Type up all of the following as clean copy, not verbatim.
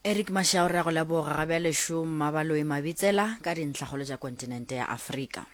Eric Mashau re a go leboga ga bjale šo Mmabaloi Mabitsela ka dintlhakgolo tša kontinente ya Afrika.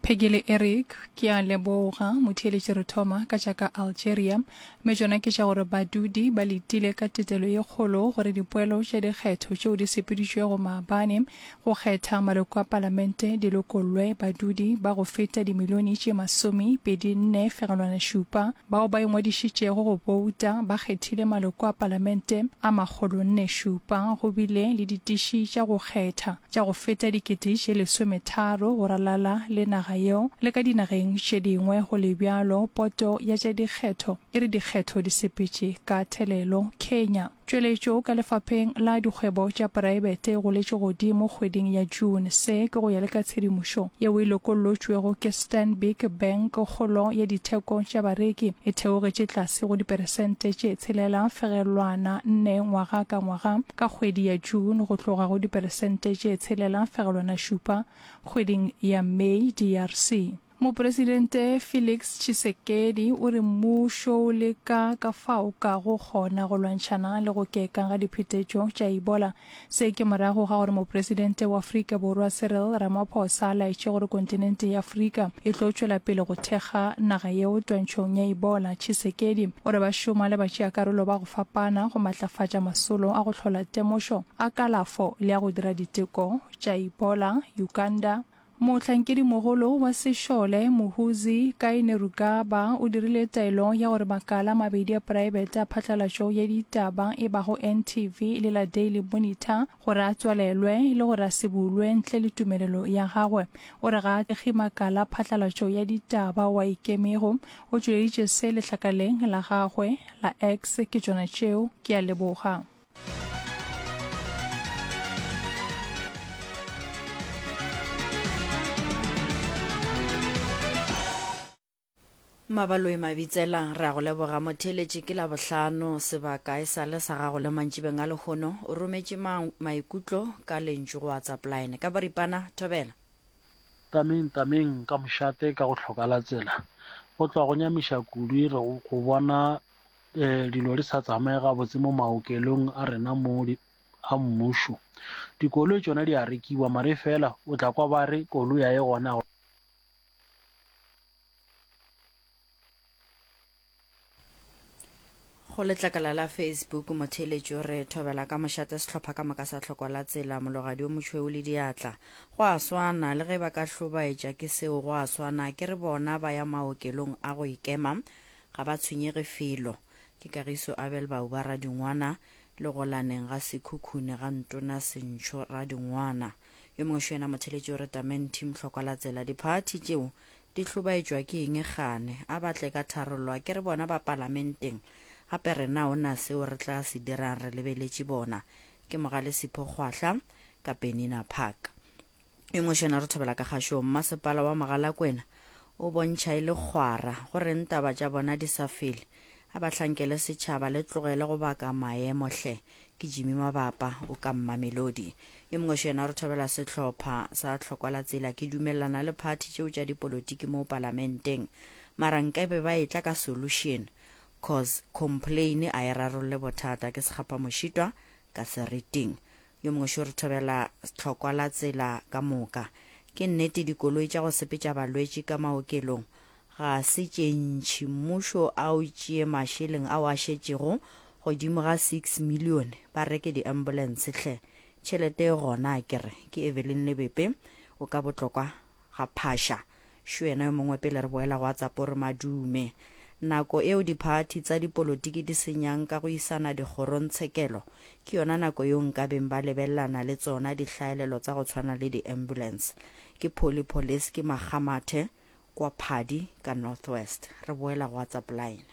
Peggy le Eric, Ke a leboga. Motheeletši re thoma ka tša ka Algeria. Mme tšona ke tša gore badudi ba letile ka tetelo ye kgolo gore dipoelo tša dikgetho tšeo di sepeditšwego maabane go kgetha maloko a palamente di lokollwe. Badudi ba go feta dimilione tše masomepedi nne fegelwana šupa bao ba ingwadišitšego go bouta ba kgethile maloko a palamente a makgolonne šupa. Go bile le ditiši tša go kgetha tša go feta dikete tše lesometharo go ralala le naga yeo le ka dinageng tše dingwe. Go le bjalo, poto ya tša dikgetho e re dikgetho di sepetše ka thelelo. Kenya. Tšweletšo ka lefapheng la dikgwebo tša poraebete e goletše godimo kgweding ya June. Se ke go ya le ka tshedimošo yeo e lokollotšwego ke Stanbic Bank. Kgolo ya ditheko tša bareki e theogetše tlase go diperesente tše tshelela fegelwana nne ngwaga ka ngwaga. Ka kgwedi ya June go tloga go diperesente tše 6,7 kgweding ya May, DRC. Mopresidente Felix Tshisekedi o re mmušo o leka ka fao kago kgona go lwantšhana le go keka ga diphetetšo tša Ebola. Se ke morago ga gore Mopresidente wa Afrika Borwa Cyril Ramaphosa a laetše gore kontinente ya Afrika e tlo tšwela pele go thekga naga yeo twantšhong ya Ebola. Tshisekedi o re ba šoma le batšeakarolo ba go fapana go matlafatša masolo a go hlola temošo, a kalafo le a go dira diteko tša Ebola. Uganda. Mohlankedimogolo wa sešole Muhoozi Kainerugaba o dirile taelo ya gore makala a mabedi a praebete a phatlalatšo ya ditaba e bago NTV le la Daily Monitor gore a tswalelwe le gore a se bulwe ntle le tumelelo ya gagwe. O re ga a thekge makala a phatlalatšo ya ditaba ao a ikemego. O tšweleditše se lehlakaleng la gagwe la X. Ke tšona tšeo. Ke a leboga. Mabaloi Mabitsela, re a go leboga motheeletši ke Labohlano, sebaka e sa le sa gago le mantšibeng a lehono. O rometše ma maikutlo ka lentšu go WhatsApp line. Ka boripana, thobela. Tameng tameng ka mošate ka go hloka la tsela. Go tloga go nyamiša kudu re go bona dilo di sa tsamaye gabotse mo maokelong a rena mo a mmušo. Dikoloi tšona di a rekiwa mare fela o tla kwa ba re koloi a e gona. Go letlakala la Facebook motheeletši o re thobela ka mošate sehlopha ka moka sa tlhoko la tsela mologadi o motšhweu le diatla. Go a swana le ge ba ka hlobaetša ke seo go a swana ke re bona ba ya maokelong a go ikema ga ba tshwenyege felo. Ke Kagiso Abel Bauba Radingwana le golaneng ga Sekhukhune ga Ntona Sentšho Radingwana. Yo mongwe šo yena motheeletši o re Tamenti Mhlokwa la tsela diphathi tšeo Di hlobaetšwa ke eng kgane? A ba tle ka tharollo. A ke re bona ba palamenteng? Gape rena o na seo re tla se dirang re lebeletše bona. Ke Mogale Sipho Kgwahla ka Penina Park. Yo mongwe šona re thobela ka kgašong. Mmasepala wa Mogalakwena o bontšha e le kgwara. Go reng taba tša bona di sa fele? A ba hlankele setšhaba le tlogele go baka maemo hle. Ke Jimmy Mabapa o ka Mmamelodi. Yo mongwe šo yena re thobela sehlopha sa Tlhokwa la Tsela. Ke dumelelana le phathi tšeo tša dipolotiki mo palamenteng. Mara nkabe ba etla ka solution cause complain a e rarolle bothata. Ke Sekgapha Mošitwa ka Seriting. Yo mongwe šo re thobela Tlhokwa la Tsela ka moka. Ke nnete dikoloi tša go sepetša balwetši ka maokelong Ga se tše ntši. Mmušo a o tšee mašeleng ao a šetšego godimo ga 6 million ba reke di ambulance hle. Tšhelete e gona akere. Ke Evelyn Lebepe o ka Botlokwa ga Phasha. Šo yena yo mongwe pele re boela go WhatsApp o re Madume. Nako eo diphathi tsa dipolotiki di senyang ka go isana dikgorongtshekelo ke yona nako yeo nkabeng ba lebelelana le tsona dihlaelelo tsa go tshwana le di ambulance. Ke Polly Poliski Makgamathe kwa Phadi ka North West. Re boela go WhatsApp line.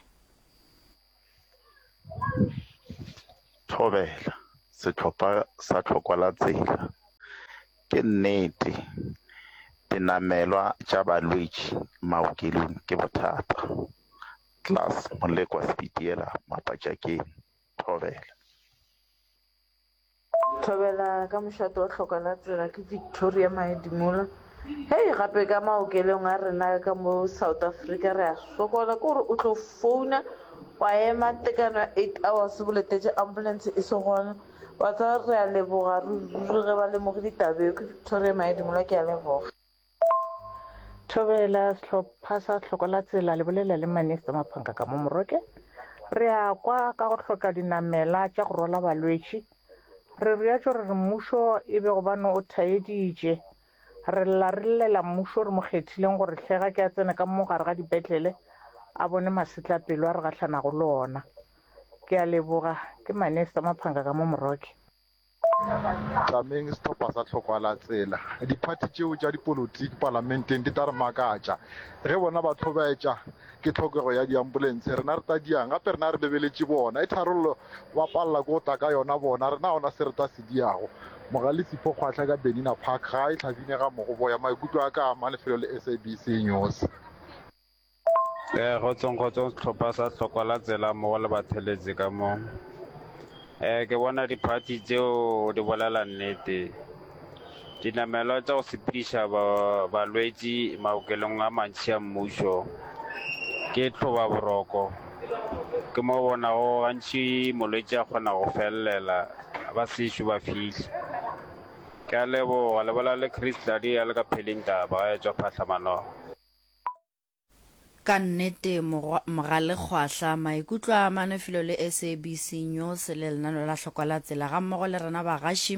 Thobela, sehlopha sa tlhokwa la tsela. Ke nnete, dinamelwa tša balwetši maokelong ke bothata. Klaas Molekwa Sepitiela Mapatšakeng. Thobela. Thobela ka mošate wa hloka la tsela ke Victoria Maedimola. Hei gape ka maokelong a rena ka mo South Africa re a sokola ke gore o tlo founa wa ema tekano ya 8 hours bo letetše ambulance e se gona wa tseba re a leboga ruri ruri ge ba lemogile taba eo ke Victoria Maedimola ke a leboga. Thobela sehlopha sa Hloko la Tsela le bolela le Manester Maphanka ka mo Moroke. Re a kwa ka go hloka dinamela tša go rwala balwetši. Re reatšo re re mmušo e be gobane o thaeditše. Re lla re llela mmušo re mo kgethileng gore hle ga ke a tsene ka mo gare ga dipetlele a bone masetlapelo a re gahlanago le ona. Ke a leboga. Ke Manester Maphanka ka mo Moroke. Tlameng sehlopha sa tlhokwa la tsela. Diphathi tšeo tša dipolotiki palamenteng di tla re makatša. Ge bona ba hlobaetša ke tlhokego ya diambulense, rena re tla diang? Gape rena re lebeletše bona. E tharollo ba palela ke go tla ka yona bona, rena ga gona se re tla se diago. Mogale Sipho Kgwahla ka Benina Park, gae Hlabine ga Mogoboya. Maikutlo a ka a ama lefelo le SABC News. Eh, kgotsong kgotsong sehlopha sa hlokwa la tsela mmogo le batheletsi ka mo. Eh, ke bona diphathi tšeo di bolela nnete. Dinamelwa tša go sepediša balwetši maokelong a mantši a mmušo ke tlhoba boroko. Ke mo bonago gantši molwetši a kgona go felelela ba sešo ba fihla. Ke a leboga, le bolela le Chris Tladi a le ka Phelindaba ga e tšwa Phahlamanong. Ka nnete Mogale Kgwahla, maikutlo a amane felo le SABC News le lenaneo la Hlokwa la Tsela gammogo le rena bagaši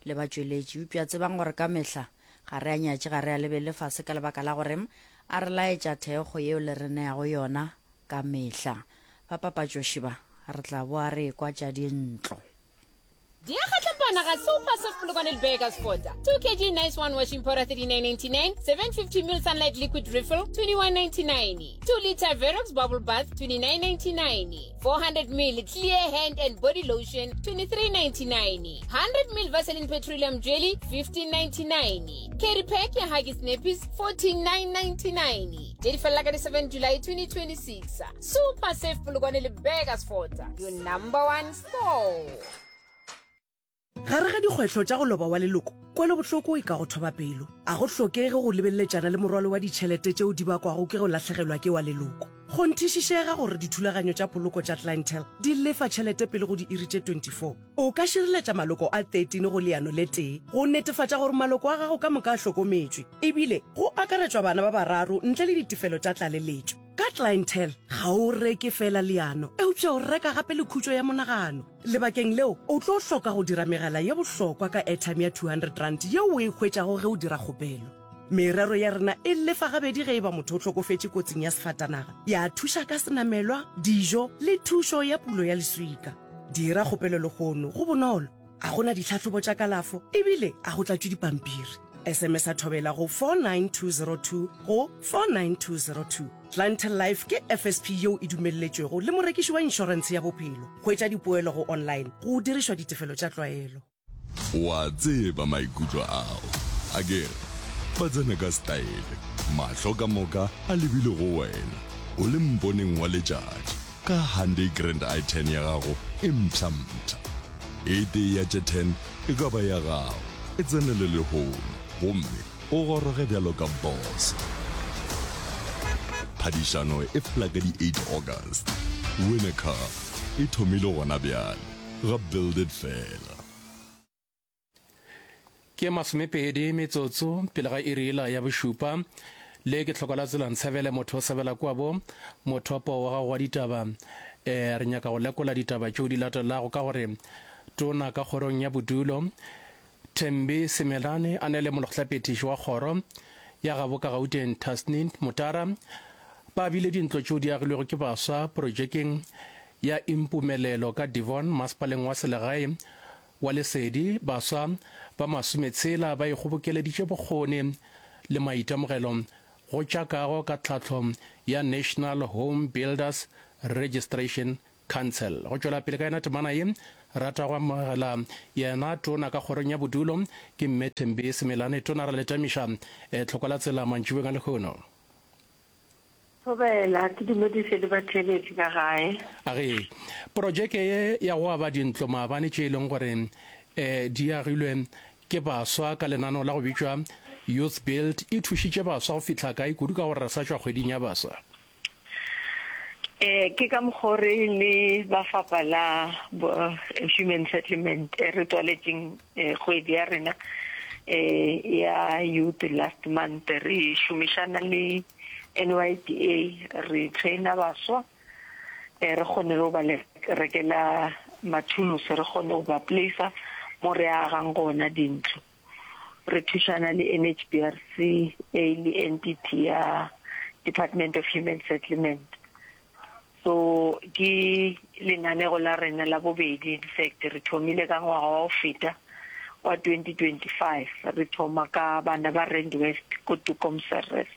le batšweletši. Eupša tsebang gore ka mehla ga re a nyatše, ga re a lebelele fase ka lebaka la gore a re laetša thekgo yeo le re neago yona ka mehla. Bapapatšoši ba, re tla boa re ekwa tša dintlo. Di a kgatlapana ga Super Soft Polokwane le Burgersfort. 2 kg Nice One Washing Powder 39.99, 750 ml Sunlight Liquid Refill 21.99, 2 liter Verox Bubble Bath 29.99, 400 ml Clear Hand and Body Lotion 23.99, 100 ml Vaseline Petroleum Jelly 15.99, Carry Pack ya Huggies Nappies 14.999. Tše di felela ka di 7 July 2026. Super Safe Polokwane le Burgersfort, your number one Gare ga dikgwetlho tša go loba wa leloko, kwelobohloko e ka go thoba pelo. A go hlokege go lebeleletšana le morwalo wa ditšhelete tšeo di bakwago ke go lahlegelwa ke wa leloko. Kgonthišišega gore dithulaganyo tša poloko tša Clientele di lefa tšhelete pele go diiri tše 24. O ka šireletša maloko a 13 go leano le tee go netefatša gore maloko a gago ka moka a hlokometšwe, ebile go akaretšwa bana ba bararo ntle le ditefelo tša tlaleletšo. Ka Clientele, ga o reke feela leano, eupša o reka gape le khutšo ya monagano. Lebakeng leo, o tlo hloka go dira megala ye bohlokwa ka airtime ya R200 yeo o e hwetšago ge o dira kgopelo. Merero ya rena e lefa gabedi ge e ba motho o hlokofetše kotsing ya sefatanaga, ya thuša ka senamelwa, dijo le thušo ya pulo ya leswika. Dira kgopelo lehono, go bonolo, ga go na ditlhahlobo tša kalafo ebile ga go tlatšwe dipampiri. SMS-a Thobela go 49202 go 49202. Clientele Life ke FSP yeo e dumelletšwego le morekiši wa inšorentshe ya bophelo. Hwetša dipoelo go online go dirišwa ditefelo tša tlwaelo. O a tseba maikutlo ao, akere? Ba tsena ka setaele, mahlo ka moka a lebile go wena, o le mponeng wa letšatši, ka Hyundai Grand i10 ya gago e mpsha-mpsha. E tee ya tše 10 e ka ba ya gago. E tsenele lehono gomme o goroge bjalo ka boss. Phadišano e fela ka di 8 August. Win a car e thomile gona bjale ga Build It Fela. Ke masomepedi metsotso pele ga iri yela ya bošupa. Le ke tlhoko la tsela ntshebele motho o sebela kua bo mothopo wa gago wa ditaba. E, re nyaka go lekola ditaba tšeo di latelago ka gore tona ka kgorong ya bodulo Thembi Simelane a ne le molekgotlaphethiši wa kgoro ya gabo ka Gauteng Tasneem Mutara ba abile dintlo tšeo di agilwego ke baswa projekeng ya Impumelelo ka Devon masepaleng wa selegae wa Lesedi, baswa ba masometshela ba ikgobokeleditše bokgoni le maitemogelo go tša kago ka tlhahlo ya National Home Builders Registration Council. Go tšwela pele ka yona temana ye, rata go amogela yena tona ka kgorong ya bodulo ke Mme Thembi Simelane. Tona ra le tamiša tlhoko la tsela mantšibeng a lehono. Thobela, ke dumediše le batheeletši ka gae. A re, Projeke ye ya go aba dintlo maabane tše e leng gore di agilwe ke baswa ka lenaneo la go bitšwa. Youth Build e thušitše baswa go fihla kae, kudu ka gore re sa tšwa kgweding ya baswa? Eh, ke ka mokgo re le ba fapa la Human Settlement re tswaletšeng kgwedi ya rena eh ya youth last month re šomišana le NYDA re traina baswa eh re kgone go ba rekela mathulusi re kgone go ba placer mo re agang gona dintlo. Re thušana le NHBRC e le entity ya Department of Human Settlement. So ke lenanego la rena la bobedi, in fact re thomile ka ngwaga wa go feta wa 2025 re thoma ka bana ba Rand West ko Toekomsrus.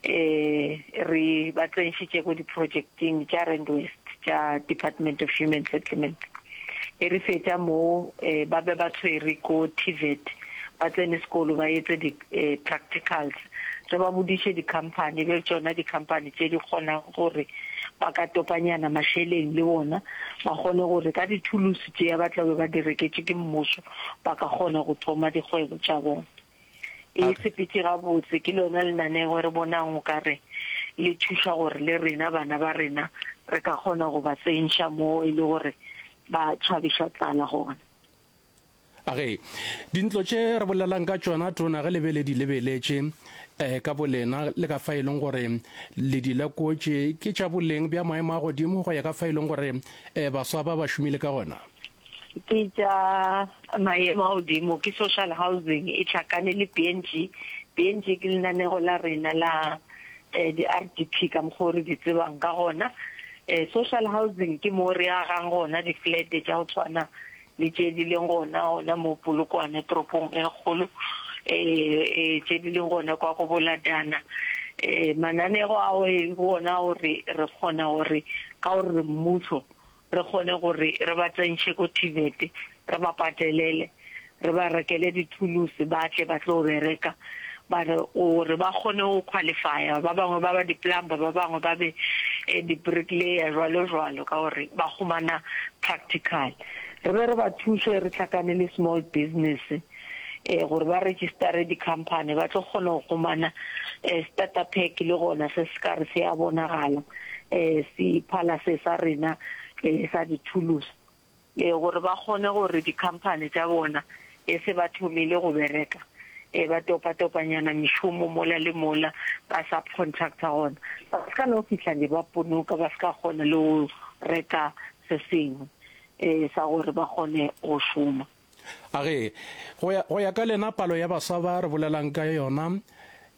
Eh re ba tsenšitše ko di-projecteng tša Rand West tša Department of Human Settlement. E re fetša mo eh, ba be ba tshwere ko TVET ba tsene sekolo ba etse di-practicals eh, re ba bodiše di-company be tšona di-company tše di kgonang gore ba ka topanyana mašeleng le bona ba kgone gore ka dithulusi tše ba tla be ba di reketše ke mmušo ba ka kgona go thoma dikgwebo tša bona. E sepetše gabotse, ke lona lenanego re bonang o ka re le thuša gore le rena bana ba rena re ka kgona go ba tsentšha mo e le gore ba tšhabiša tlala gona. Age, dintlo tše re bolelang ka tšona Tona ge le be le di lebeletše eh, ka bolena le ka fa e leng gore le di lekotše ke tša boleng bja maemo a godimo go ya ka fa e leng gore eh, baswa ba ba šomile ka gona? Ke tša maemo a godimo, ke social housing e hlakane le BNG. BNG ke lenanego la rena la di-RDP ka mokgwa o re di tsebang ka gona. Social housing ke mo re agang gona di-flat tša go tshwana le tše di leng gona gona mo Polokwane toropong e kgolo, tše di leng gona kwa go Boladana. Mananego ao e bona gore re kgona gore ka gore re mmušo re kgone gore re ba tsentšhe ko TVET, re ba patelele, re ba rekele dithulusi ba tle ba tlo bereka, ba re gore ba kgone go qualifya, ba bangwe ba ba di-plumber, ba bangwe ba be di-bricklayer jwalo jwalo, ka gore ba humana practical. Re be re ba thuše re hlakane le small business. gore ba register-e di-company ba tlo kgona go humana starter pack le gona se se ka re se a bonagala se phala se sa rena sa dithulusi gore ba kgone gore di-company tša bona e se ba thomile go bereka ba topa-topanyana mešomo mola le mola ba subcontractor gona ba se ka no fihla ne ba ponoka ba se ka kgona le go reka se sengwe sa gore ba kgone go šoma. A re, Go ya, go ya ka lena, palo ya baswa ba re bolelang ka yona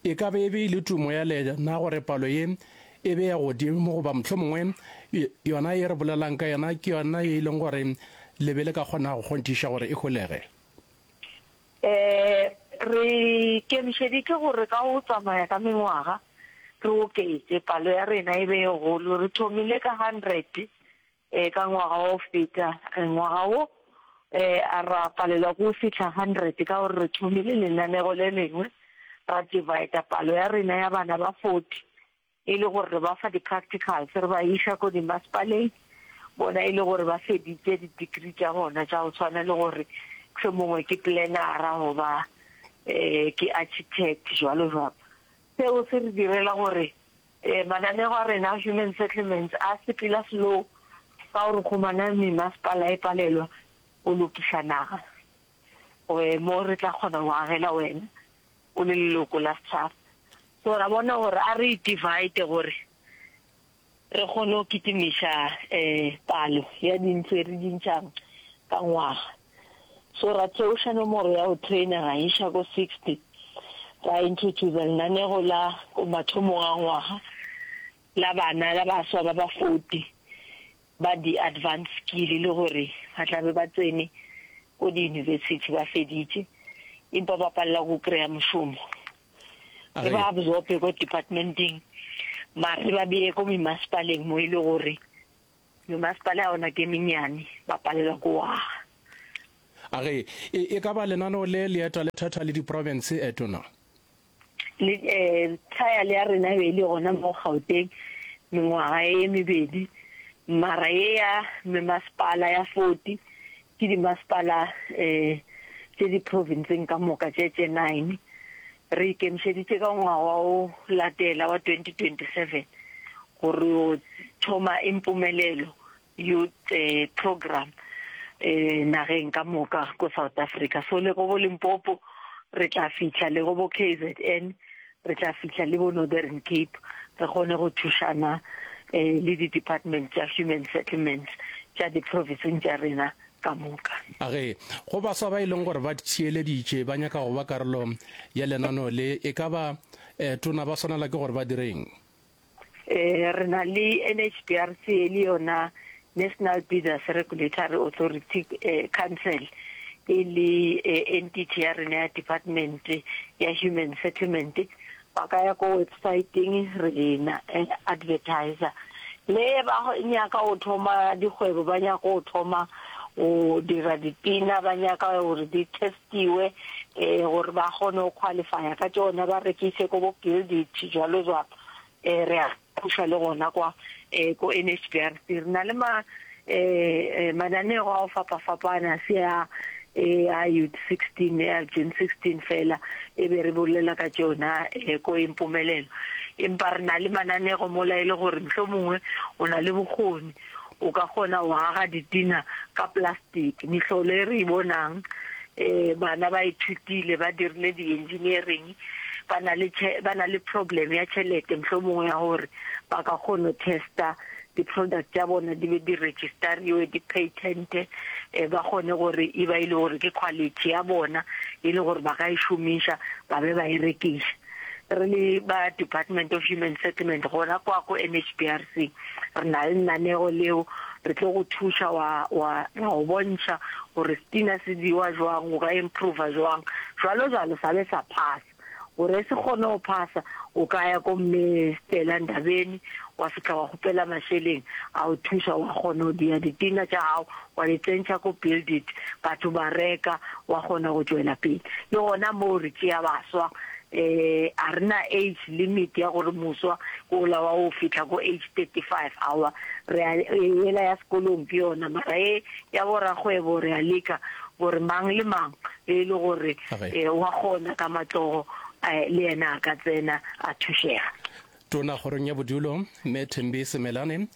e ka be e be e le tumo ya lena gore palo ye e be ya godimo, goba mohlomongwe yona ye re bolelang ka yona ke yona ye e leng gore le be le ka kgona go kgonthiša gore e holege? E, re ikemišeditše gore ka go tsamaya ka mengwaga re oketše palo ya rena e be e golo. Re thomile ka hundred Ka ngwaga wa go feta, ngwaga wo, a ra palelwa ke go fihla hundred ka gore re thomile lenanego le lengwe, ra divider palo ya rena ya bana ba 40 e le gore re ba fa di-practicals, re ba iša ko dimasepaleng, bona e le gore ba feditše di-degree tša bona tša go tshwana le gore mohlomongwe ke planner-a goba ke architect jwalo jwalo. Seo se re direla gore Mananego a rena a human settlements a sepela slow ka gore humana memasepala e palelwa go lokiša naga mo re tla kgona go agela wena o le leloko la setšhaba. So ra bona gore a re divide gore re kgone go kitimiša palo ya dintlo e re di ntšhang ka ngwaga. So ra theoša nomoro ya go trainer ra iša ko 60, ra introducer lenanego la ko mathomong a ngwaga la bana la baswa ba ba 40 ba di advanced skill le gore ba tla be ba tsene ko di university ba feditše empa ba palela go kry-a mošomo. Re ba absorbe ko departmenteng mare re ba beye ko memasepaleng mo e le gore Memasepala ya ona ke menyane, ba palelwa ke go aga. A re, e, e ka ba lenaneo le le eta le thatha le diprofense, eh, Tona? Le, eh, trial ya rena e be e le gona mo Gauteng mengwaga e mebedi, mara ye ya memasepala ya 40 ke dimasepala eh, tše diprovinseng ka moka tše tše nine. Re ikemišeditše ka ngwaga wa o latela wa 2027 go re yo thoma Impumelelo Youth Programme nageng ka moka ko South Africa. So le go bo Limpopo re tla fihla, le go bo KZN re tla fihla, le bo Northern Cape re kgone go thušana le di-department tša Human Settlements tša di-province tša rena ka moka. A ge go baswa ba e leng gore ba theeleditše ba nyaka go ba karolo ya lenaneo le, e ka ba tona ba swanela ke gore ba dire'ng? Re na le NHBRC e le yona National Bidders Regulatory Authority Council e le entity ya rena ya Department ya Human Settlement. Ba ka ya ko websiteng re na advertiser. Le ba nyaka go thoma dikgwebo, ba nyaka go thoma go dira ditena, ba nyaka gore di testiwe gore ba kgone go qualifya ka tšona, ba rekise ko bo Build It jwalo jwalo. Re a thuša le gona kwa ko NHBRC. Re na le ma mananego a go fapafapana, se a a Youth 16 ya June 16 fela e be re bolela ka tšona ko Impumelelo. Empa re na le mananego mola e le gore mohlomongwe o na le bokgoni, o ka kgona go aga ditina ka plastic. Mehlolo e re e bonang, bana ba ithutile, ba dirile di-engineering, ba na le ba na le problem ya tšhelete mohlomongwe ya gore ba ka kgona go testa di-product tša bona di be di register-iwe, di patente, ba kgone gore e ba e le gore ke quality ya bona e le gore ba ka e šomiša ba be ba e rekiša. Re le ba Department of Human Settlement gona kwa ko NHBRC re na le lenanego leo re tlo go thuša wa, wa, ra go bontšha gore setina se diwa jwang, o ka improva jwang, jwalo jwalo sa be sa phasa. Gore se kgone go phasa o ka ya ko mme Stella Ndabeni wa fihla wa kgopela mašeleng a o thuša wa kgona go dia ditina tša gago wa di tsentšha ko Build It batho ba reka wa kgona go tšwela pele. Le gona moo re tšea baswa um a re na age limit ya gore moswa ke ola wa go fihla ko age 35 aowa re a yela ya sekolong ke yona mara e ya borakgwebo re a leka gore mang le mang e le gore wa kgona ka matsogo le yena a ka tsena a thušega. Tona kgorong ya bodulo, Mme Thembi Simelane,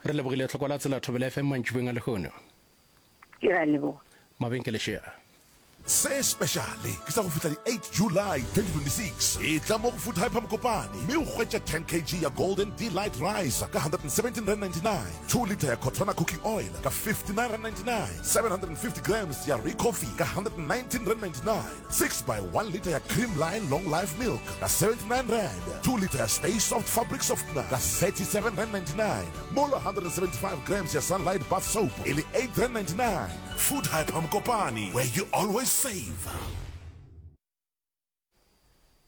re lebogile tlhoko la tsela Thobela FM mantšibeng a lehono. Ke a leboga. Mabenkele šea. Se speciale ke sa go fihla di 8 July 2026. Etla mo go Food Hyper Mokopane mme o hwetše 10 kg ya Golden Delight Rice ka R117.99, 2 litre ya Cotona Cooking Oil ka R59.99, 750 grams ya Ricoffy ka R119.99, 6 by 1 litre ya Creamline Long Life Milk ka R79, 2 litre ya Stay Soft Fabric Softener ka R37.99, mola 175 grams ya Sunlight Bath Soap e le R8.99. Food Hyper Mokopane, where you always save.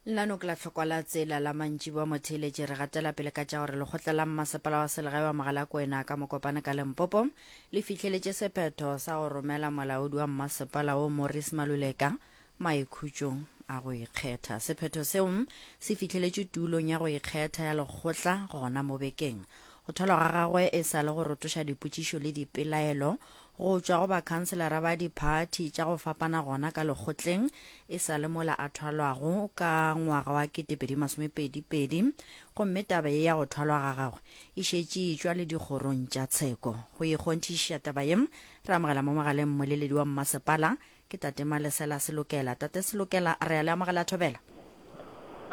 Lenaneo ke la tlhokwa la tsela la mantšiboa motheeletši re gatela pele ka tša gore lekgotla la mmasepala wa selegae wa Mogalakwena ka Mokopane ka Limpopo le fihleletše sephetho sa go romela molaodi wa mmasepala wo Morris Maluleka maikhutšong a go ikgetha. Sephetho seo se fihleletšwe tulong ya go ikgetha ya lekgotla gona mo bekeng. Go thwalwa ga gagwe e sa le go rotoša dipotšišo le dipelaelo go tšwa go bakhanselara ba diphathi tša go fapana gona ka lekgotleng e sa le mola a thwalwago ka ngwaga wa 2022 gomme taba ye ya go thwalwa ga gagwe e šetše e tšwa le dikgorong tša tsheko. Go ikgonthišiša taba ye re amogela mo mogaleng mmoleledi wa mmasepala Ke Tate Malesela Selokela. Tate Selokela, re a le amogela Thobela.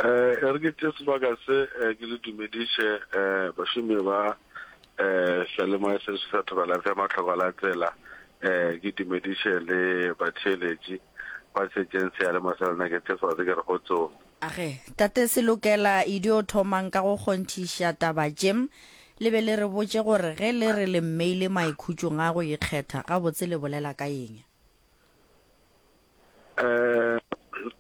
Eh, e re ke tšee sebaka se eh, ke le dumediše eh, bašomi ba eh, seyalemoya se sa Thobela FM Mahlokwa la Tsela eh, ke dumediše le batheeletši ba šetšeng seyalemoya sa lena ke tšee sebaka se ke re kgotsong. Age, Tate Selokela, e dio thomang ka go kgonthiša taba tše, le be le re botše gore ge le re le mmeile maikhutšong a go ikgetha, gabotse le bolela ka eng? Eh,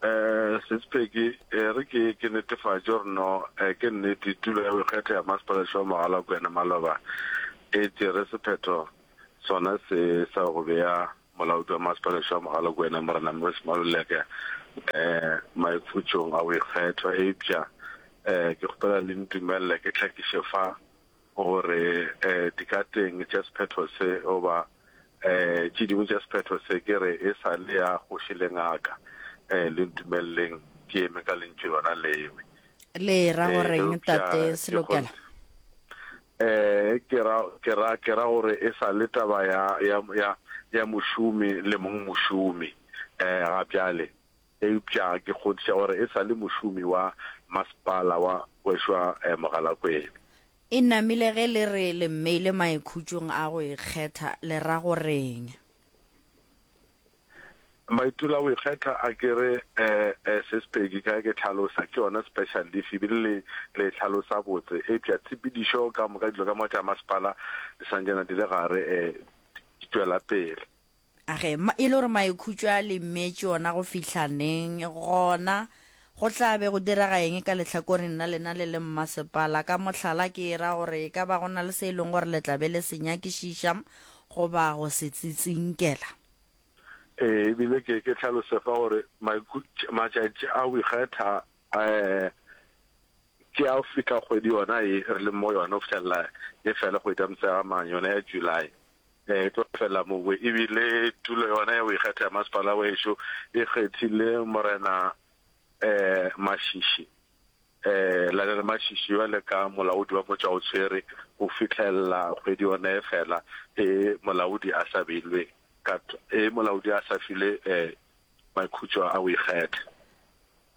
eh, Sespheki, e re ke ke netefatše gore no eh, ke nnete tulo ya boikgetho ya Masepala wa Mogalakwena maloba e tšere sephetho sona se sa go bea molaodi wa Masepala wa Mogalakwena Morena Morris Maluleke eh maikhutšong a boikgetho eupša eh ke kgopela le ntumelele ke hlakiše fa gore dikateng tša sephetho se goba tše dingwe tša sephetho se ke re e sa le ya kgoši le ngaka. Le ntumeleleng ke eme ka lentšu lona lewe. Le ra Eh, goreng eupša tate ke Selokela? kgonthe eh ke ra ke ra ke ra gore e sa le taba ya ya ya ya mošomi le mong mošomi eh ga bjale eupša ke kgonthiša gore e sa le mošomi wa masepala wa wešo wa eh, Mogalakwena. E namile ge le re le mmeile maikhutšong a go ikgetha, le ra go reng? Maitula a go ikgetha a ke re eh, eh, Sis Peggy, ka ge ke hlalosa, ke yona special leave ebile le, le e hlalosa botse. Eupša tshepedišo ka moka, dilo ka moka tša masepala di santšana di le gare, eh, di tšwela pele. A ge, ma, e le gore maikhutšo a le mmetše ona go fihla neng, gona go tla be go direga eng ka lehlakoreng la lena le le mmasepala? Ka mohlala, ke e ra gore e ka ba go na le se e leng gore le tla be le se nyakišiša goba go se tsitsinkela. Ee, e bile ke, ke hlalose fa gore matšatši a go ikgetha um ke a go fihla kgwedi yona ye re leng mo yona go fihlelela e fela kgwedi ya Motshegamang, yona ya July. E tlo fela mowe. E bile tulo yona ya go ikgetha ya masepala wešo e kgethile Morena um Mashishi um Lionel Mashishi bjale ka molaodi wa motšwaotshwere go fihlelela kgwedi yona e fela e molaodi a sa beilwe ka e molaodi a sa filwe um maikhutšo a go ikgetha.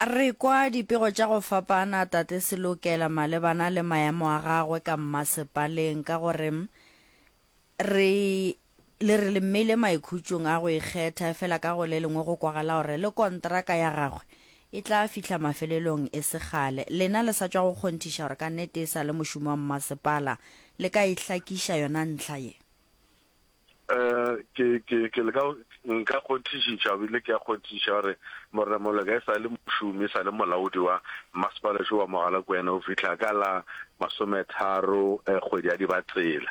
Re kwa dipego tša go fapana Tate Selokela malebana le maemo a gagwe ka mmasepaleng ka gore Re le re le mmeile maikhutšong a go ikgetha, efela ka go le lengwe go kwagala gore le kontraka ya gagwe e tla fihla mafelelong e se kgale. Lena le sa tšwa go kgonthiša gore ka nnete e sa le mošomi wa mmasepala. Le ka e hlakiša yona ntlha ye? Eh, ke, ke, ke leka, nka kgonthišiša, ebile ke a kgonthišiša gore Morena Moleka e sa le mošomi, e sa le molaodi wa mmasepala šo wa Mogalakwena go fihla ka la masometharo eh, kgwedi ya Dibatsela.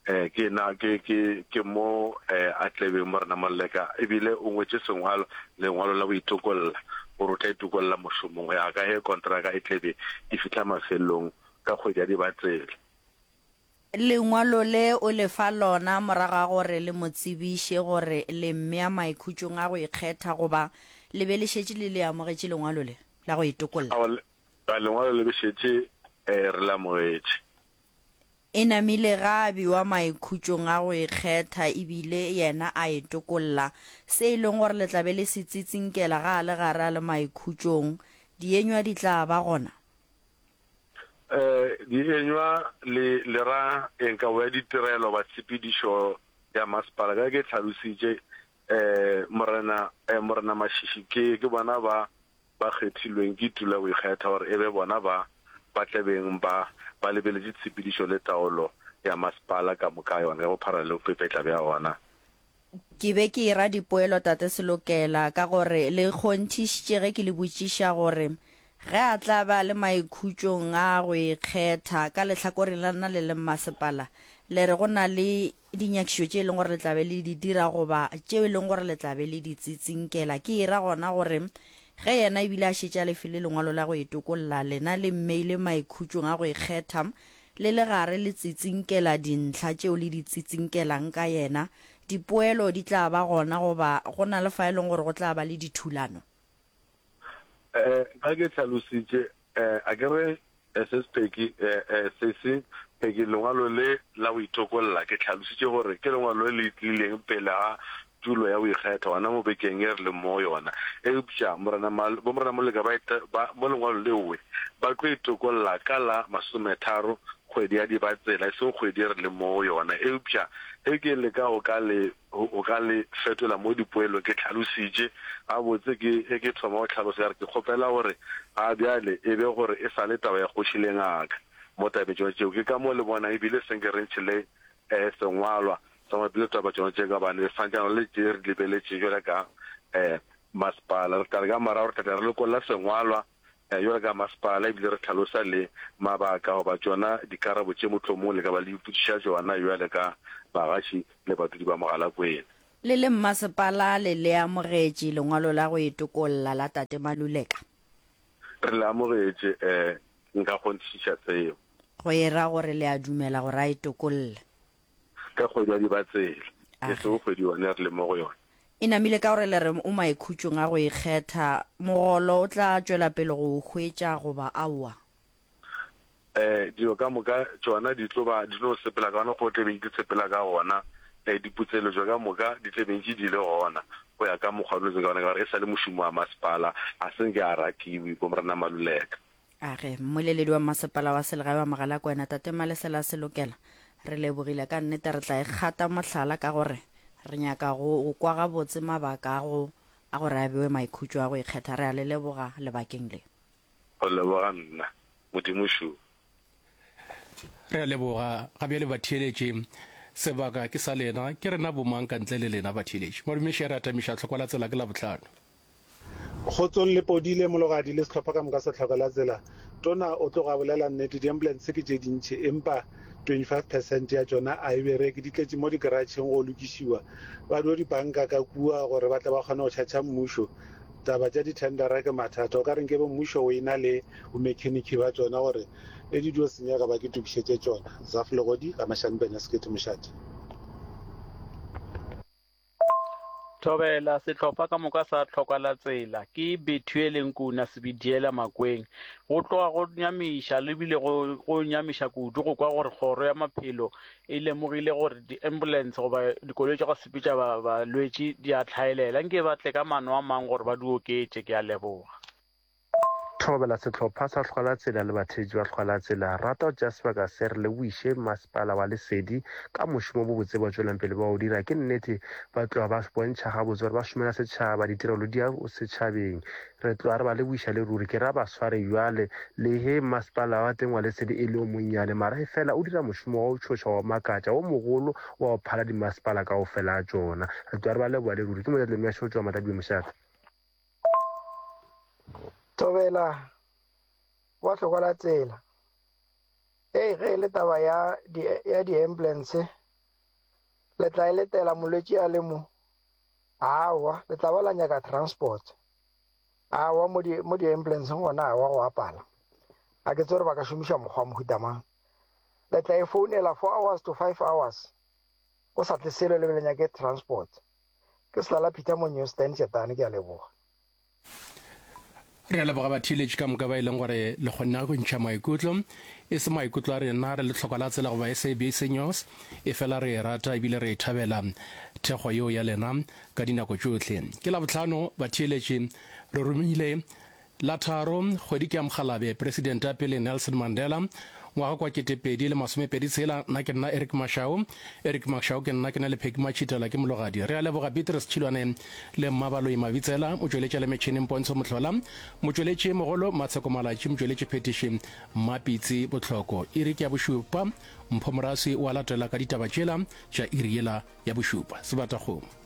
Eh, ke na ke ke ke mo eh, a tlebeng Morena Moleka, ebile o ngwetše sengwalo, lengwalo la go itokolla, gore o tla itokolla mošomong go ya ka ge kontraka e tlebe e fihla mafelelong ka kgwedi ya Dibatsela. Lengwalo le o le fa lona morago ga gore le mo tsebiše gore le mmea maikhutšong a go ikgetha goba le be le šetše le le amogetše lengwalo le la go itokolla. Aowa, lengwalo le be šetše eh, re le amogetše. E namile ga a bewa maikhutšong a go ikgetha e bile yena a e tokolla. Se e leng gore le tla be le se tsitsinkela ga a le gare a le maikhutšong, dienywa di tla ba gona. Eh, dienywa le, le ra eng kabo ya ditirelo ba tshepedišo ya masepala? Ka ge ke hlalositše, eh, Morena, eh, Morena Mashishi ke, ke bona ba ba kgethilweng ke tulo ya go ikgetha gore e be bona ba ba tla beng ba ba lebeletše tshepedišo le taolo ya masepala ka moka ga yona ka bophara le bopepetla bja ona. Ke be ke era dipoelo Tate Selokela ka gore le kgonthišitše ge ke le botšiša gore ge a tla be a le maikhutšong a go ikgetha ka lehlakoreng la lena le le mmasepala le re go na le dinyakišišo tše e leng gore le tla be le di dira goba tšeo e leng gore le tla be le di tsitsinkela. Ke e ra gona gore ge yena ebile a šetše a le file lengwalo la go itokolla, lena le mmeile maikhutšong a go ikgetha, le le gare le tsitsinkela dintlha tšeo le di tsitsinkelang ka yena, dipoelo di tla ba gona goba go na le fa e leng gore go tla ba le dithulano? Eh, ga ke hlalositše, eh, a ke re SS Peggy, eh, eh, Sesi Peggy, lengwalo le la go itokolla, ke hlalositše gore ke lengwalo le le tlileng pele ga tulo ya go ikgetha gona mo bekeng ye re leng mo go yona. Eupša Morena Mal, bo Morena Moleka ba, ba, mo lengwalo leowe, ba tlo itokolla ka la masometharo kgwedi ya Dibatsela, e seng kgwedi ye re leng mo go yona. Eupša ge ke leka go ka le O ka le fetola mo dipoelong. Ke hlalositše gabotse ke ge ke thoma go hlalosa ka re ke kgopela gore ga bjale e be gore e sa le taba ya kgoši le ngaka mo tabeng tšona tšeo. Ke ka mo le bonang ebile se nke re ntšhe le sengwalwa sa mabapi le taba tšona tše ka gobane re santšana le tše re di lebeletšeng bjale ka masepala. Re tla re ka morago re tla tla re lokolla sengwalwa Bjalo ka masepala ebile re hlalosa le mabaka goba tšona dikarabo tše mohlomong le ka ba le ipotšiša tšona bjale ka bagaši le badudi ba Mogalakwena. Le le mmasepala le le amogetše lengwalo la go itokolla la Tate Maluleka? Re le amogetše, ee, nka kgonthišiša seo. Go e ra gore le a dumela gore a itokolle? Ka kgwedi ya Dibatsela, e sego kgwedi yona e re leng mo go yona. E namile ka gore le re o maikhutšong a go ikgetha, mogolo o tla tšwela pele go o hwetša goba aowa? Eh, dilo ka moka tšona di tlo ba di tlo sepela ka gona go tle beng di sepela ka gona. Eh, diputseletšo ka moka di tle beng di le gona go ya ka mokgwa dilo tse ka gona, ka gore e sa le mošomo wa masepala, ga se nke a rakiwe ko Morena Maluleka. A re, Mmoleledi wa Masepala wa Selegae wa Mogalakwena, Tate Malesela Selokela, re lebogile ka nnete re tla e kgata mohlala ka gore re nyaka go go kwa gabotse mabaka a go a gore a bewe maikhutšo a go ikgetha. Re a le leboga lebakeng le. Go leboga nna. Modimo šo. Re a leboga. Ga bjale batheeletši, sebaka ke sa lena. Ke rena bomang ka ntle le lena batheeletši? Madume Shere a tamiša tlhokwa la tsela ke Labohlano. Kgotsong le Podile, Mologadi le sehlopha ka moka sa Tlhoko la Tsela. Tona o tloga a bolela nnete, di-ambulance ke tše dintši empa 25 percent ya tšona a e bereke, di tletše mo di-garageng go lokišiwa. Ba dio di banka ka kua gore ba tle ba kgone go tšhatšha mmušo. Taba tša di-tendera ke mathata, o ka re nkebe mmušo o e-na le bo-mechanic ba tšona gore ge di dio senyega ba ke tokišetše tšona. Zaf Legodi, Ga-Mashanpene, Sekete Mošate. Thobela, Sehlopha ka moka sa Tlhoka la Tsela ke Bethuele Nkuna Sebidiela Makweng. Go tloga go nyamiša le bile go go nyamiša kudu go kwa gore kgoro ya maphelo e lemogile gore di-ambulance goba dikoloi tša go sepetša balwetši di a hlaelela. Nke ba tle ka maano a mang gore ba di oketše. Ke a leboga. Thobela sehlopha sa Hlwalatsela le batheetši ba Hlwalatsela. Rata go tšea sebaka se re lebogiše Masepala wa Lesedi ka mošomo o bobotse ba tšwelang pele ba o dira. Ke nnete ba tloga ba bontšha gabotse gore ba šomela setšhaba, ditirelo di ya setšhabeng. Re tloga re ba lebogiša le ruri. Ke ra ba sware bjale le ge masepala wa teng wa Lesedi e le o monnyane mara efela o dira mošomo wa go tšhoša, wa go makatša, wo mogolo wa go phala dimasepala kaofela a tšona. Re tloga re ba leboga le ruri. Ke Mojadile Myašo go tšwa Matladibeng Mošate. Thobela wa hlokwa la tsela. Ei ge e le taba ya di ya di-ambulance le tla e letela molwetši a le mo? Aowa, le tla ba la nyaka transport. Aowa mo di mo di-ambulanceng gona aowa go a pala. A ke tsebe gore ba ka šomiša mokgwa wa mohuta mang. Le tla e founela four hours to five hours go sa tle selo le be le nyake transport. Ke Selala Peter mo New Stand Tšetane, ke a leboga. Re a leboga batheeletši ka moka ba e leng gore le kgonne go ntšha maikutlo. E se maikutlo a rena re le tlhokwa la tsela goba SABC News, efela re e rata ebile re e thabela thekgo yeo ya lena ka dinako tšohle. Ke Labohlano batheeletši, re romile La tharo, kgwedi ke ya Mokgalabje, Presidente ya pele Nelson Mandela, ngwaga kwa 2026. Nna ke nna Eric Mashau, Eric Mashau ke nna, ke na le Pheki Matšhitela ke mologadi. Re a leboga Beatrice Tšhilwane le Mmabaloi Mabitsela, motšweletši a le metšhineng Pontsho Mohlola, motšweletši mogolo Matsheko Malatši, motšweletši phethiši Mmapitsi Bohloko. Iri ke ya bošupa, Mpho Moraswi o a latela ka ditaba tšela tša iri yela ya bošupa. Sebatakgomo.